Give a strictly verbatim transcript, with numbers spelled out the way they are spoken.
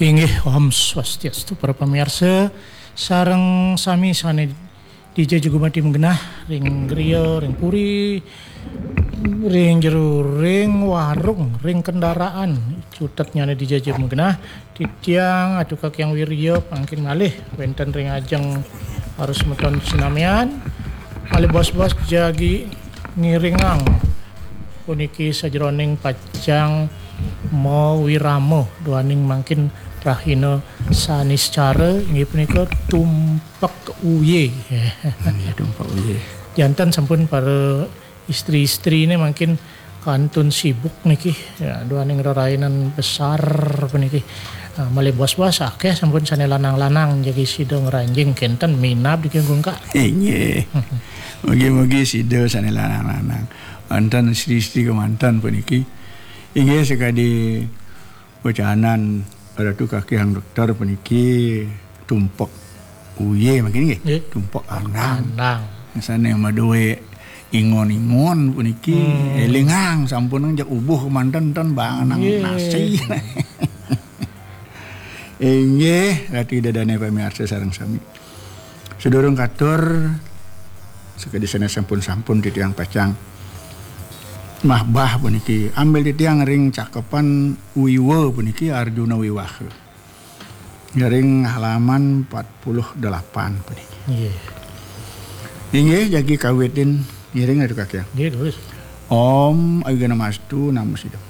Inggih, Om Swastiastu, para pamiarsa, sareng sami sane dija jagi gumanti magenah ring griya, ring puri, ring jero, ring warung, ring kendaraan, cutetnyane dija jagi magenah, titiang Atu Kaki Yang Wirya mangkin malih wenten ring ajeng para semeton sinamian, malih bos-bos jagi ngiringang puniki sajeroning pacang mawirama duaning mangkin rahina Saniscara, inggih punika Tumpek Uye. Nggih, Tumpek Uye. Janten sampun para istri-istrine mangkin kantun sibuk niki, ya, duaning rerainan besar puniki. Ah, malih bos-bos akeh sampun sane lanang-lanang jagi sida ngranjing kenten minab diki gungkak. Inggih. Mugi-mugi sida sane lanang-lanang. Wonten istri-istri kemanten puniki. Inggih, sakadi wecanan Ratu Kakihang Dokter puniki, Tumpek Uye mangkin nggih. Nggih. Tumpek Anang. Anang. Sane madue ingon-ingon puniki, hmm, elingang sampun jak ubuh kemanten ten bangenang, nggih, nasi. Inggih, Ratu Ida Dane pamiarsa sareng sami. Sadurung katur, sakadi sane sampun-sampun titiang pacang mahbah puniki, ambil titiang ring cakepan Wiwa puniki, Arjuna Wiwaha. Ring halaman empat puluh delapan puniki. Nggih. Inggih, jagi kawitin ngiring Ratu Kakihang. Nggih, terus. Om Awighnamastu Namo Siddham.